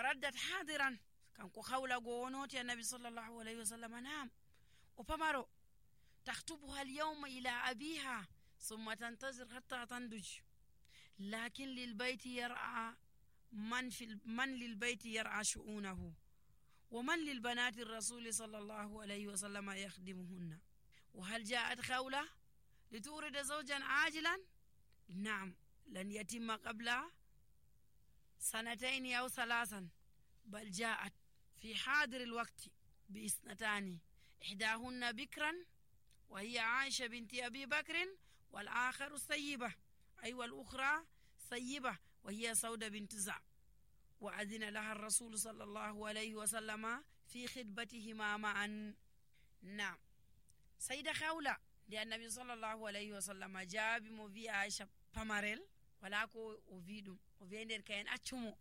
faraddat hadiran kanko hawla go wonoti annabi sallallahu alayhi wa sallam naam o pamaro takhtubuha alyawma ila abiha summa tantazir hatta tanduj lakin lilbayti yar'a man lilbayti yar'a shu'unahu wa man lilbanati الرسول صلى الله عليه وسلم يخدمهن وهل جاءت خولة لتورد زوجا عاجلا نعم لن يتم قبل 2 أو 3 بل جاءت في حاضر الوقت ب2 إحداهن بكرا وهي عائشة بنت أبي بكر والآخر سيبة أي والأخرى سيبة وهي سودة بنت زع وأذن لها الرسول صلى الله عليه وسلم في خطبتهما معا نعم سيدة خولة لأن النبي صلى الله عليه وسلم جاب موفي عائشة باماريل ولاكو أوفيدم أوفيندر كاين أتشمو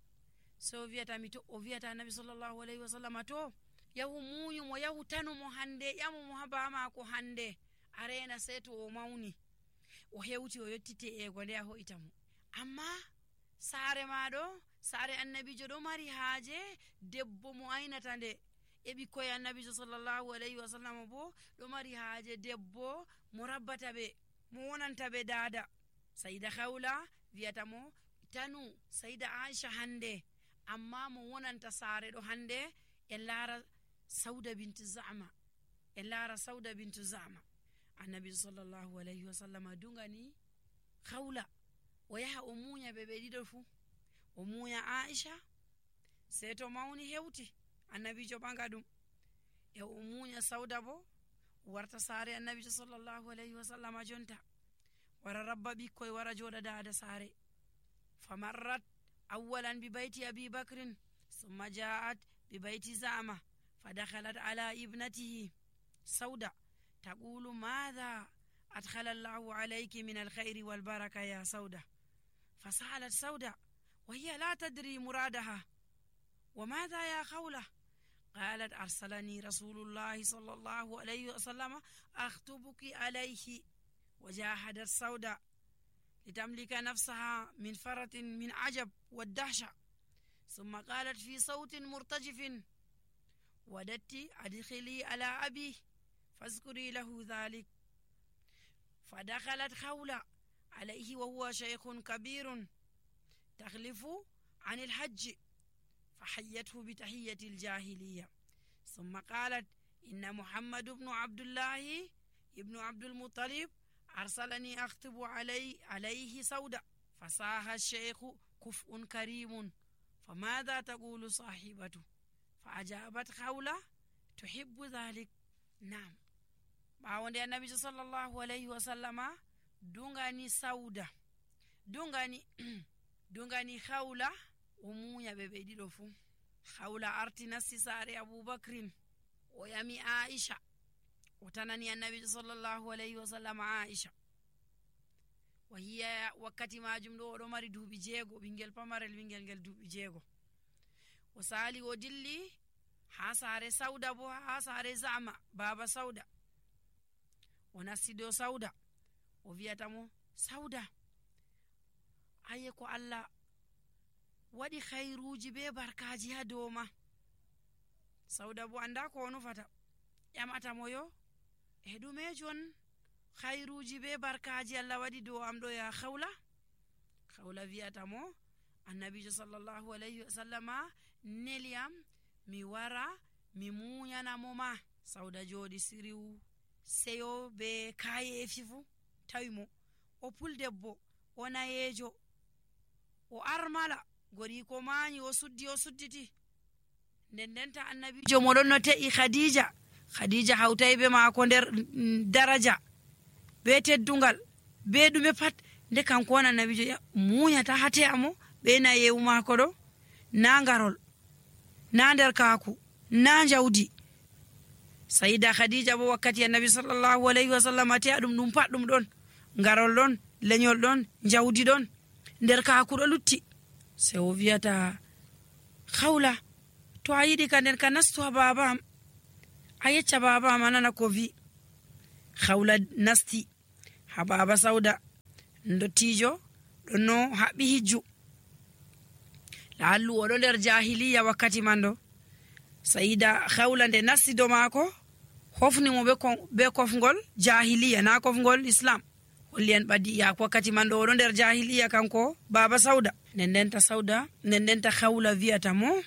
سوفيتا ميتو أوفيتا النبي صلى الله عليه وسلم تو yahu muñumo yahu tanumo hande ƴamumo ha bamako hande arena seto o mawni o hewti o yettite ego nde a hoytamo amma saare maɗo saare annabijo ɗo mari haaje debbo mo aynata nde e ɓikkoye annabijo sallallahu alayhi wa sallam bo ɗo mari haaje debbo mo rabbata ɓe mo wonanta ɓe dada sayida hawla wiyata mo tanu sayida aisha hande amma mo wonanta saare ɗo hande en laara sauda bintu zama en laara sauda bintu zama annabi sallallahu alayhi wa sallam dungani hawla o yaha o muuña ɓe ɗiɗo fuu o muuña aisha sey to mawni hewti annabijo ɓaga ɗum e o muuña sauda bo warta saare annabijo sallallahu alayhi wa sallam jonta wara rabba ɓikkoy wara jooɗa dada saare famarrat awwalan bi bayti abi bakrin summa ja'at bi bayti zama فدخلت على ابنته سودة تقول ماذا أدخل الله عليك من الخير والبركة يا سودة فسألت سودة وهي لا تدري مرادها وماذا يا خولة قالت أرسلني رسول الله صلى الله عليه وسلم أخطبك عليه وجاهدت سودة لتملك نفسها من فرة من عجب والدهشة ثم قالت في صوت مرتجف وددت أدخلي على أبي فاذكري له ذلك فدخلت خولة عليه وهو شيخ كبير تخلف عن الحج فحيته بتحية الجاهلية ثم قالت إن محمد بن عبد الله ابن عبد المطلب أرسلني أخطب عليه سودة فصاح الشيخ كفء كريم فماذا تقول صاحبته فأجابت خولة تحب ذلك نعم بعد النبي صلى الله عليه وسلم دungani sauda dungani khawla o muuña ɓe ɗiɗo fuu khawla arti nasti saare aboubacrin o yami aisha o tanani annabijo sallallahu alayhi wa sallam aisha wa hiya wakkati majum ɗo oɗo mari duuɓi 6 ɓingel pamarel ɓingel ngel duuɓi 6 o sali o dilli ha saare sauda bo ha saare zama baba sauda o nasti dow sauda o wiyata mo sauda aye ko Allah waɗi khairuji be barkaji ha dow ma sauda bo anda ko o nufata ƴamata mo yo e ɗume jon khairuji be barkaji Allah waɗi dow am ɗo ya khawla wiyata mo annabijo sallallahu alayhi wa sallama neliyam mi wara mi muñanamo ma sauda jooɗi siriw seyo be kayefi fu tawi mo o puldebbo o nayejo o armala gori ko mañi o sudditi ndendenta annabijo moɗon no te'i khadija hawtay be maako nder daraja be teddungal be ɗume pat nde kanko won annabijo muñata hate amo ɓe nayewu maako ɗo na ngarol na nder kaaku na jawdi sayida khadija bo wakkati annabi sallallahu alayhi wa sallam ate ɗum pat ɗum ɗon ngarol ɗon leñol ɗon jawdi ɗon nder kaaku ɗo lutti se o wiyata khawla to a yiɗi ka nden ka nastu ha babam a yecca babam anana ko wi khawla nasti ha baba sauda ndottijo ɗon no haɓɓi hijju laallu oɗo nder jahiliya wakkati man ɗo. sayida hawla nde nassido maako hofnimo be kofgol jahiliya, na kofgol islam. holli en ɓaddi yak wakkati man ɗo oɗo nder jahiliya kanko baba sauda. ndendenta hawla wiyata mo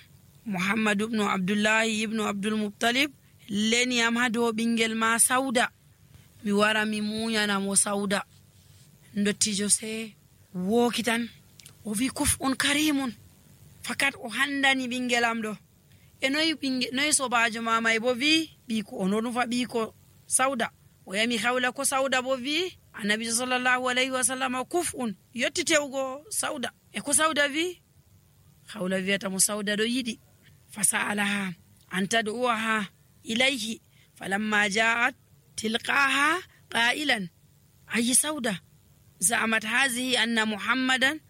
muhammadu ibnu abdullahi ibnu abdul muttalib leniyam ha dow ɓingel ma sauda, mi wara mi muyanamo sauda. dottijo se wokitan o wi kuf on karimun, fakat o handani ɓingelam ɗo. e noyi sobajo mamay bo wi ɓiko o nufa ɓiko sauda. o yami hawla ko sauda bo wi annabijo sallallahu alayhi wa sallam kuf un, yetti tewgo sauda. e ko sauda wi, hawla wiyata mo sauda ɗo yiɗi. fasalaha an tad'uha ilayhi falamma ja'at tilqaha qailan ayi sauda زعمت هذه أن محمد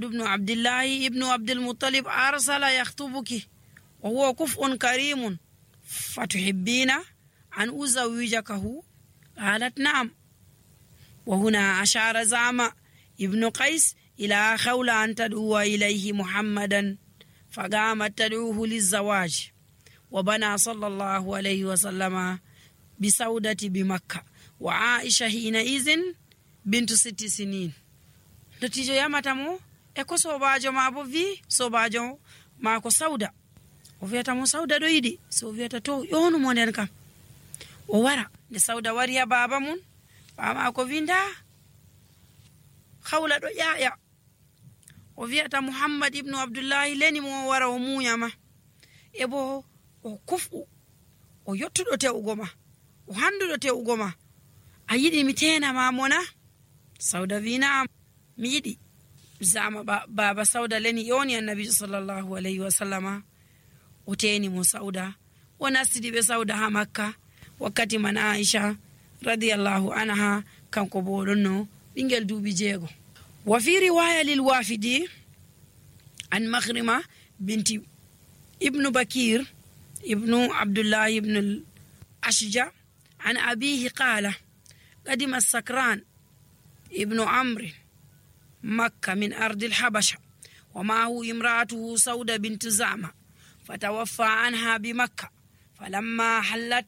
بن عبد الله ابن عبد المطلب أرسل يخطبك وهو كفء كريم فتحبين أن أزوجكه؟ قالت نعم. وهنا أشار زعم ابن قيس إلى خولة أن تدعو إليه محمدا، فقامت تدعوه للزواج. وبنى صلى الله عليه وسلم بسودة بمكة وعائشة حينئذ bintu 6 sinin. dottijo yamata mo e ko sobajo ma bo wi sobajo ma ko sauda. o wiyata mo sauda ɗo yiɗi. so o wiyata to yonu mo nden kam. o wara. nde sauda wari ha baba mun, baba ko winda hawla ɗo ƴaƴa. o wiyata muhammad ibnu abdullahi leni mo wara o muyama. e bo o kufu o yottuɗo tewugo ma, o handuɗo tewugo ma. a yiɗi mi tena ma mona? sauda wi na'am mi yiɗi. zama baba sauda leni yoni annabijo sallallahu alayhi wa sallama. o teni mo sauda. o nastidi ɓe sauda ha makka wakkati man aisha radiyallahu anha kanko bo ɗonno ɓingel duuɓi 6. wa fi riwaya lil wafidi an makhrima binti ibnu bakir ibnu abdullahi ibnu ashja an abihi qala قدم السكران ابن عمرو مكة من أرض الحبشة ومعه امرأته سودة بنت زعمة، فتوفى عنها بمكة. فلما حلت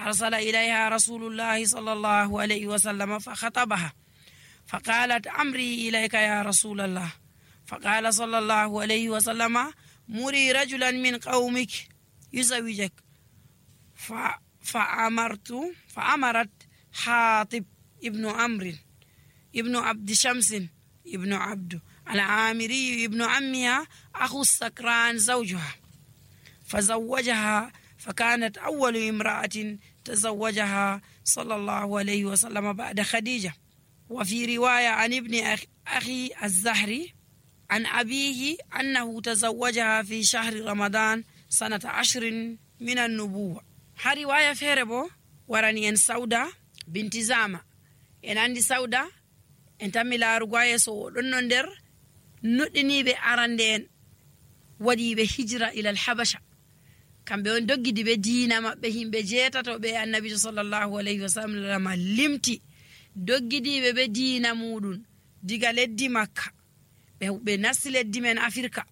أرسل إليها رسول الله صلى الله عليه وسلم فخطبها، فقالت أمري إليك يا رسول الله. فقال صلى الله عليه وسلم مري رجلا من قومك يزوجك. فأمرت حاطب ابن عمرو ابن عبد شمس ابن عبد العامري ابن عمها أخو السكران زوجها، فزوجها، فكانت أول امرأة تزوجها صلى الله عليه وسلم بعد خديجة. وفي رواية عن ابن أخي الزهري عن أبيه أنه تزوجها في شهر رمضان سنة 10 من النبوة. ها رواية فيربو وراني ان سودا بنت زامة en andi sauda en tammi laarugo yeso ɗon no nder nuɗɗiniɓe arande en waɗiɓe hijra ila al-habasha. kamɓe on doggidi ɓe diina maɓɓe, himɓe 8 ɓe annabijo sallallahu alayhi wasallam limti doggidiɓe ɓe diina muɗum diga leddi makka ɓe nasti leddi men Afrika.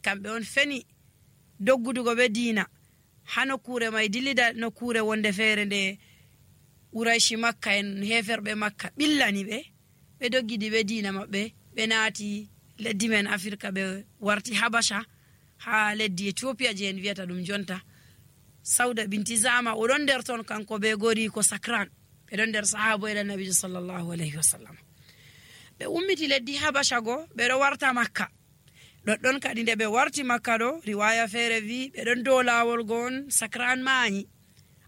kamɓe on feni doggudugo ɓe diina ha nokkure may dillida nokkure wonde feere nde Urayshi makka en heferɓe makka ɓillani ɓe doggidi ɓe diina maɓɓe ɓe naati leddi men Afrika ɓe warti Habasha ha leddi Ethiopia je en wiyata ɗum jonta. Sauda binti Zama oɗon nder ton kanko ɓe gori ko Sakran, ɓe ɗon nder sahabo ila nabijo sallallahu alayhi wasallam. ɓe ummiti leddi Habasha go ɓeɗo warta makka. ɗoɗɗon kadi nde ɓe warti makka ɗo riwaya feere wi ɓe ɗon dow lawol go on Sakran mañi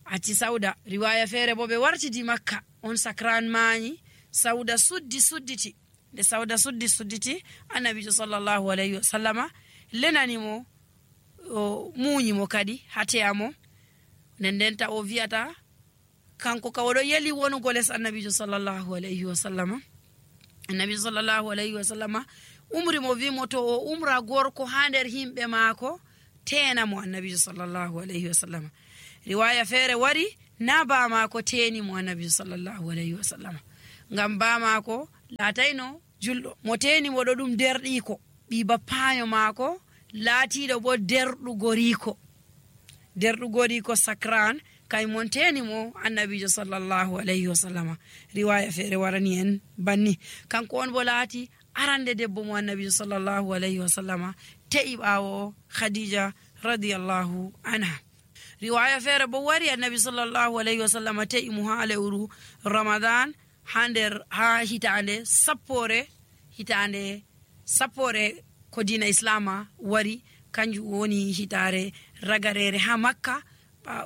acci Sauda. riwaya feere bo ɓe wartidi makka on Sakran mañi. Sauda sudditi. nde Sauda sudditi annabijo sallallahu alayhi wasallama lenani mo o muñi mo kadi hateyamo. ndenta o wiyata kanko ka oɗo yeli wonugo les annabijo sallallahu alayhi wasallama. annabijo sallallahu alayhi wasallama umri mo wimo to o umra gorko ha nder himɓe maako tena mo annabijo sallallahu alayhi wasallama. riwaya feere wari na ba maako teni mo annabijo sallallahu alayhi wasallama, ngam ba maako latayno julɗo mo teni mo ɗo ɗum derɗiko ɓi bappayo maako laatiiɗo bo derɗugo riiko sakran kay monteni mo annabijo sallallahu alayhi wa sallama. riwaya feere warani en banni. kanko on bo laati arande debbo mo annabijo sallallahu alayhi wa sallama te'i ɓaawo khadija radiyallahu anha. riwaya feere bo wari annabi sallallahu alayhi wa sallama te'i mo ha lewru ramadan ha hitande sappore ko dina islama wari, kanjum woni hitare ragarere ha makka.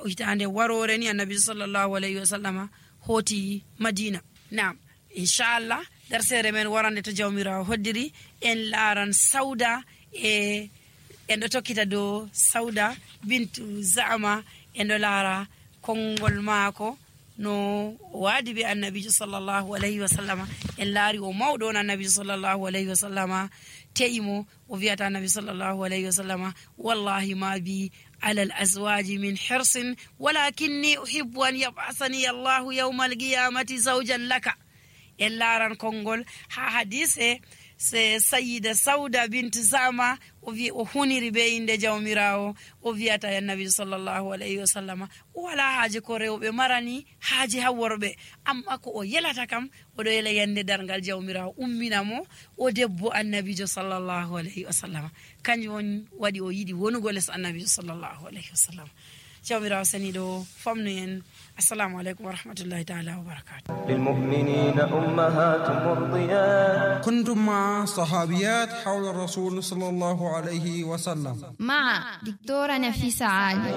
hitande warore ni annabi sallallahu alayhi wa sallama hoti madina. Naam, inshallah darsere men warande to jawmirawo hoddiri en laran Sauda en do tokkita do Sauda bintu Zama en do lara kongol maako no wadi be annabi sallallahu alayhi wa sallama. en laari o mawdo on annabi sallallahu alayhi wa sallama teimo o wi'ata annabi sallallahu alayhi wa sallama wallahi ma bi على الأزواج من حرص ولكني أحب أن يبعثني الله يوم القيامة زوجا لك. إلا ران كونغول حديث سيدة سودة بنت زعمة وهوني ربين دي جوميراو وفياتا النبي صلى الله عليه وسلم ولا حاجة كوريو بمراني حاجة هوربي أم أكو يلا تكم ودو يلا يندي دارنغال جوميراو أمينا مو ودبو النبي صلى الله عليه وسلم كان يون ودي ويدي ونغولس النبي صلى الله عليه وسلم. جوميراو سنيدو فمنين. السلام عليكم ورحمة الله تعالى وبركاته. للمؤمنين أمهات مرضيات. كنتم مع صحابيات حول الرسول صلى الله عليه وسلم مع دكتورة نفيسة عالي.